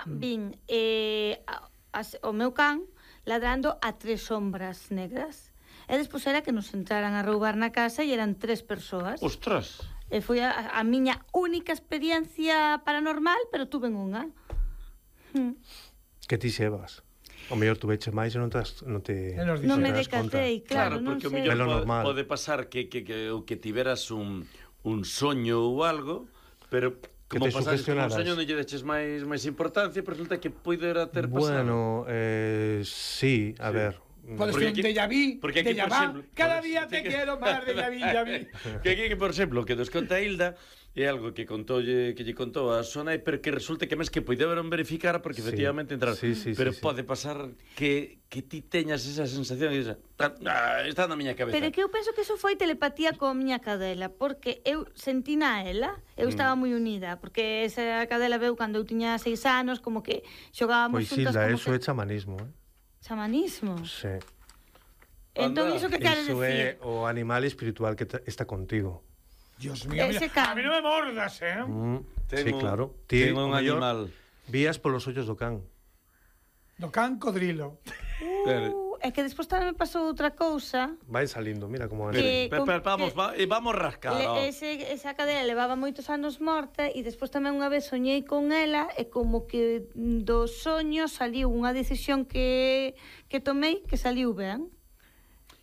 vin o meu can ladrando a 3 sombras negras. E despois era que nos entraran a roubar na casa e eran 3 persoas. Ostras! E foi a miña única experiencia paranormal, pero tuve unha. Que ti xevas? O mellor tu veches máis e non me decatei, claro, non porque sei. o mellor pode pasar que tiveras un soño ou algo, pero como pasaste un soño non lle deches máis importancia, pero resulta que poidera ter pasado. Bueno, sí, a ver. Podes ter un déjà vu, déjà vu, cada día te quero máis, déjà vu. Que, por exemplo, que nos conta Hilda é algo que lle contou a súa nai, pero que resulta que máis que poideron verificar porque efectivamente entrar, pero pode pasar que ti teñas esa sensación e está na miña cabeza. Pero que eu penso que eso foi telepatía coa miña cadela, porque eu sentina a ela, eu estaba moi unida, porque esa cadela veu cando eu tiña 6 anos, como que xogábamos juntas. Pois Hilda, eso é chamanismo, Chamanismo? Sí. Entón, iso que queres decir? Iso é o animal espiritual que está contigo. Dios mío, a mí non me mordas, Sí, claro. Tengo un animal. Vías polos ollos do can. Do can codrilo. É que despois tamén me pasou outra cousa. Vai salindo, mira como vamos rascar. Esa cadela levaba moitos anos morta e despois tamén unha vez soñei con ela e como que do soño saliu unha decisión que tomei que saliu ben.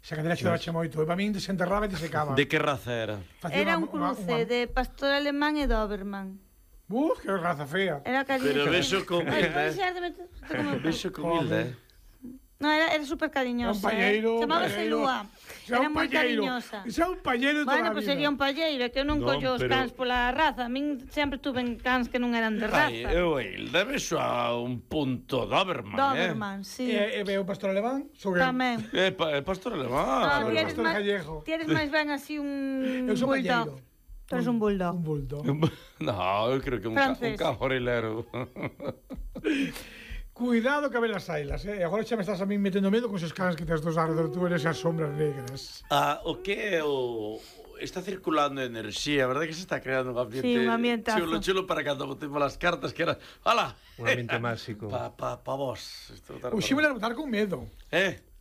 Esa cadela xodache moito, e para min desenterraba e desecaba. De que raza era? Era un cruce de pastor alemán e doberman. Que raza fea. Era cariñosa. Pero beso con Hilda. Beso con Hilda, No, era super cariñosa. Era un palleiro. Chamábase Lúa. Era moi cariñosa. Era un palleiro toda a vida. Bueno, pois sería un palleiro, que eu non collo os cans pola raza. A min sempre tuve cans que non eran de raza. Hilda beso a un punto Doberman, Doberman, sí. E veo pastor alemán? Tamén. Pastor alemán. Pastor gallego. Ti eres máis ben así un eu son bulldog. Tu eres un bulldog. Un bulldog. No, eu creo que un cajorilero. Cuidado que ven as ailas, Agora xa me estás a mí metendo medo con esos cans que tes dos arredor, tú eres as sombras negras. O que é está circulando enerxía, verdade que se está creando un ambiente? Sí, un ambientazo. Chulo para cando botemos as cartas, que era... ¡Hala! Un ambiente máxico. Pa vos. Hoxe van a botar con medo.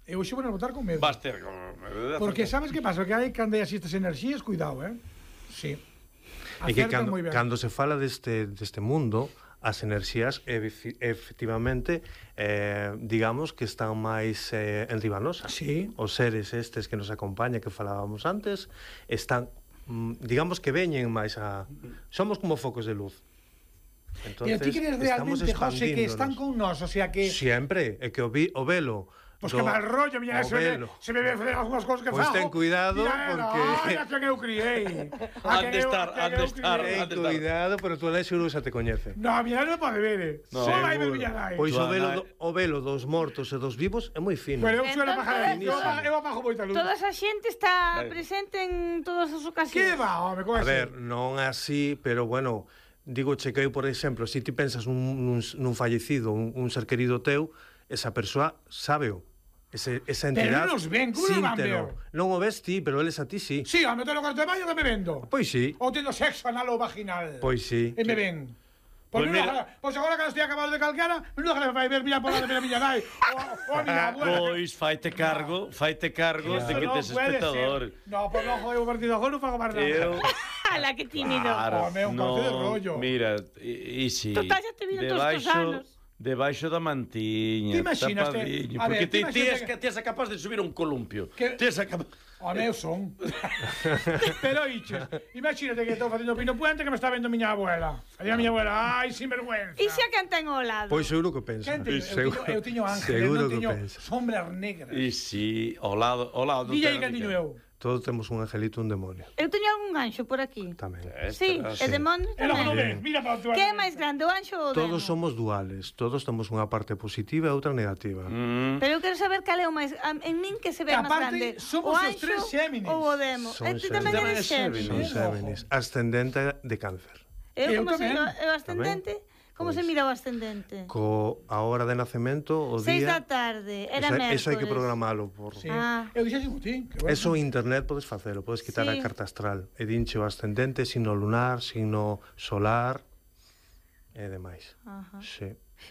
Eu hoxe van a botar con medo. Vas ter... Porque sabes que pasa? Que hai cando hai así estas enerxías, cuidado, Sí. E que cando se fala deste mundo, as enerxías efectivamente digamos que están máis enribanosas. Sí. Os seres estes que nos acompañan, que falábamos antes, están digamos que veñen máis a... Somos como focos de luz. Pero Entonces, ti crees realmente, José, que están con nós, o sea que... Siempre, é que o velo... Pois que mal rollo, miña, se me ve algunhas cousas que fago. Pois ten cuidado, porque... Mira, que eu criei. Han de estar. Ten cuidado, pero tu nai seguro xa te coñece. No, a miña non pode ver, só vai ver miña nai. Pois o velo dos mortos e dos vivos é moi fino. Pero eu suelo bajar, eu apago moita luz. Toda esa xente está presente en todas as ocasións. Que va, home, como a ver, non así, pero bueno... Digo, chequei, por exemplo, se ti pensas nun fallecido, un ser querido teu, esa persoa sábeo. Esa entidade... Pero non nos ven, como non van ver? Non o ves ti, pero eles a ti sí. Sí, ao meter o cuarto de baño que me vendo. Pois sí. Ou tendo sexo anal ou vaginal. Pois sí. E me ven. Pois agora que estou acabado de calquera, menuda que me vai ver mirar por la de miña nai. O a miña abuela. Pois faite cargo de que tes espectador. No, pois non jogo partido agora, non fago máis nada. Ala, que tímido. Claro, un parte de rollo. Mira, e si... Total, xa te viron todos os anos. Debaixo da mantiña, tapadinho. Porque ti és capaz de subir un columpio. Ti és capaz... Home, eu son. Pero, iches, imagínate que estou facendo Pino Puente que me está vendo miña abuela. Aí a miña abuela, ai, sinvergüenza. E xa quen ten ao lado? Pois seguro que pensa. Eu tiño ángel, eu non tiño sombras negras. E si, ao lado... Dille aí que tiño eu. Todos temos un angelito e un demonio. Eu teño algún anxo por aquí. Tamén. Sí, e demonio tamén. Mira para o teu. Que é máis grande, o anxo ou o demo? Todos somos duales, todos temos unha parte positiva e outra negativa. Pero eu quero saber cal é o máis... En min que se ve máis grande, somos o os tres anxo Xéminis. ou o demo. Ti tamén eres Xéminis. Son Xéminis. Ascendente de cáncer. Eu como sei o ascendente... Como se mira o ascendente? A hora de nacemento, o día... 6 da tarde, era mércoles. Eso hai que programalo. Sí. Eu dixen ti. Eso internet podes facelo, podes quitar a carta astral. E dinche o ascendente, signo lunar, signo solar e demais. Sí.